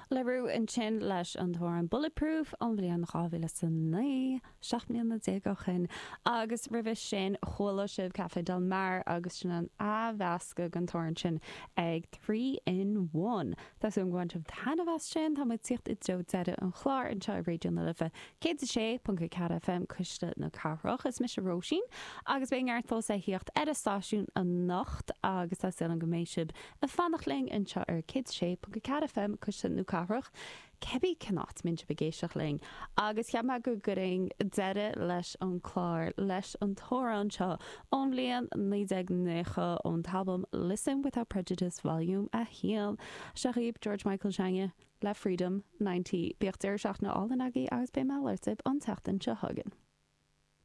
La Roux ansin leis an t-amhrán Bulletproof ón bhliain 2009, 17 mbliana ó shin, agus roimhe sin chuala sibh Café Del Mar agus sin an athmheascadh den t-amhrán sin ag Three in One. Tá súil agam gur bhain sibh taitneamh as sin. Tá muid ag tíocht i dtreo deireadh an chláir anseo ar Raidió na Life 106.4 FM, Cuisle na Cathrach. Is mise Róisín agus beidh neart fós le thíocht ar an stáisiún anocht agus tá súil agam go mbeidh sibh ag fanacht linn anseo ar 106.4 FM, Cuisle na Cathrach, cibé cén áit a mbíonn sibh ag éisteacht linn. Agus cheap mé go gcuirfinn deireadh leis an chlár leis an t-amhrán seo ón bhliain 1990 ón t-albam Listen Without Prejudice Volume 1. Seo dhaoibh George Michael s'againne le Freedom 90. Bíodh deireadh seachtaine álainn agaibh agus beidh mé ag labhairt libh an tseachtain seo chugainn.